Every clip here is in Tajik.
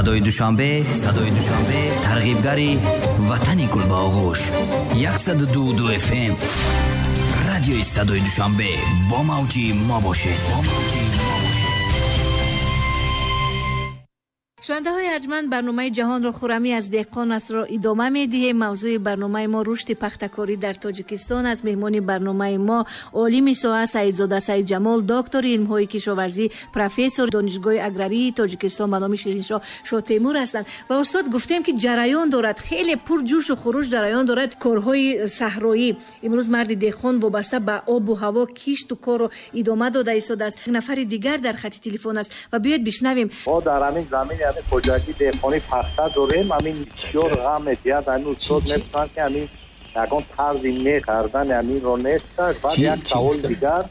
Садои Душанбе, Садои Душанбе, тарғибгари ватани гул ба оғӯш. 102.2 FM. Радиои Садои Душанбе, бо мавҷи мо бошед. Бо мавҷи мо бошед. Шунавандаҳои арҷманд, барномаи «Ҷаҳонро хуррамӣ аз деҳқон астро идома медиҳем. Мавзӯи барномаи мо рушди пахтакорӣ дар Тоҷикистон аст. Меҳмони барномаи мо олими соҳа Саидзода Саидҷамол, доктори илмҳои кишоварзӣ, профессор Донишгоҳи аграрии Тоҷикистон ба номи Шириншоҳ Шотемур ҳастанд. Ва устод, гуфтем, ки ҷараён дорад, хеле пурҷӯшу хуруш ҷараён дорад корҳои саҳроӣ. Имрӯз марди деҳқон вобаста ба обу ҳаво кишту корро идома дода истодааст. Нафари дигар дар хати телефон аст ва биёед бишнавем. Мо дар ҳамин замин, ҳамин хоҷагӣ деҳқонӣ пахта дорем. Ҳамин бисёр ғам медиҳад. Ҳамин устод мепурсанд, ки ҳамин ягон тарзи не кардани ҳаминро нест. Баъд як саволи дигар: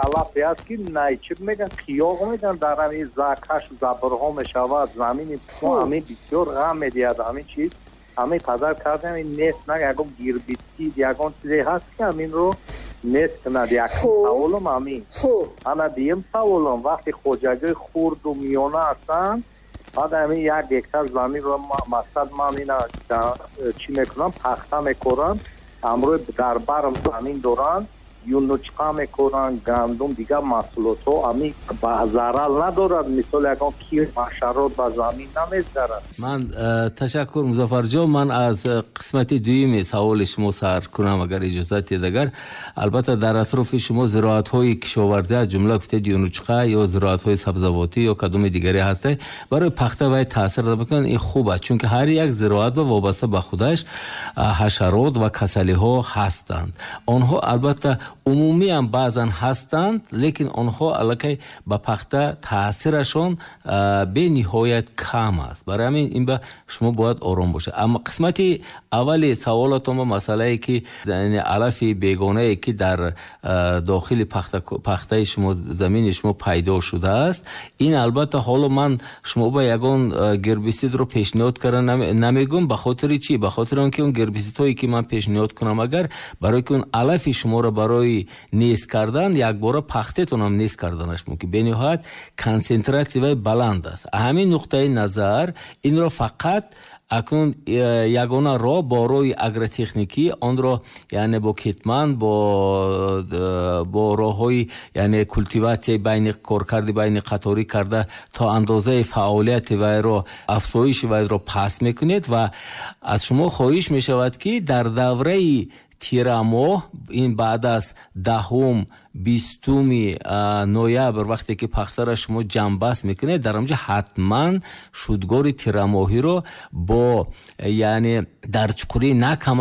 алафе аст, ки найчиб меган, қиёғ меган, дар ҳамин закаш забрҳо мешавад замини мо. Ҳамин бисёр ғам медиҳад ҳамин чиз. Ҳамин қадар кардем, ҳамин нест на, ягон гербицид, ягон чизе ҳаст, ки ҳаминро нест кунад? Якум саволам ҳамин. Ана дуюм саволам: вақте хоҷагии хурду миёна ҳастанд, баъд ҳамин 1 гектар заминро, мақсад, ман ина чӣ мекунам, пахта мекорам, ҳамроҳи дар барм замин доранд, юнучқа мекоранд, гандум, дигар маҳсулотҳо, ҳамин ба зарар надорад? Мисол, ягон кир, ҳашарот ба замин намезарад? Ман ташаккур, Музаффарҷон. Ман аз қисмати дуюми саволи шумо сар кунам, агар иҷозат диҳед. Агар албатта дар атрофи шумо зироатҳои кишоварзӣ, аз ҷумла гуфтед юнучқа ё зироатҳои сабзавотӣ ё кадоми дигаре ҳаста, барои пахта вай таъсир мекунад, ин хуб аст, чунки ҳар як зироат ба вобаста ба худаш ҳашарот ва касалиҳо ҳастанд. Онҳо албатта умумиам баъзан ҳастанд, лекин онҳо аллакай ба пахта таъсирашон бениҳоят кам аст. Барои ҳамин ин ба шумо бояд ором бошад. Аммо қисмати аввали саволатон ба масъалае, ки алафи бегонае, ки дар дохили пахтаи шумо, замини шумо пайдо шудааст, ин албатта ҳоло ман шумо ба ягон гербисидро пешниҳод карда намегӯм. Ба хотири чӣ? Ба хотири он ки он гербисидҳое, ки ман пешниҳод кунам, агар барои ки он алафи шуморо барои нест кардан, якбора пахтетонам нест карданаш мумкин. Бениҳоят консентратсия вай баланд аст. Ҳамин нуқтаи назар инро фақат акнун ягона роҳ бо роҳи агротехникӣ онро, яъне бо кетман, бо роҳҳои, яъне культиватсияи байни коркарди байни қаторӣ карда, то андозаи фаъолияти вайро, афзоиши вайро паст мекунед. Ва аз шумо хоҳиш мешавад, ки дар давраи тирамоҳ, ин баъд аз 10-ум, 20-уми ноябр, вақте ки пахтара шумо ҷамъбаст мекунед, дар онҷо ҳатман шудгори тирамоҳиро бо, яъне дар чуқурии на кам аз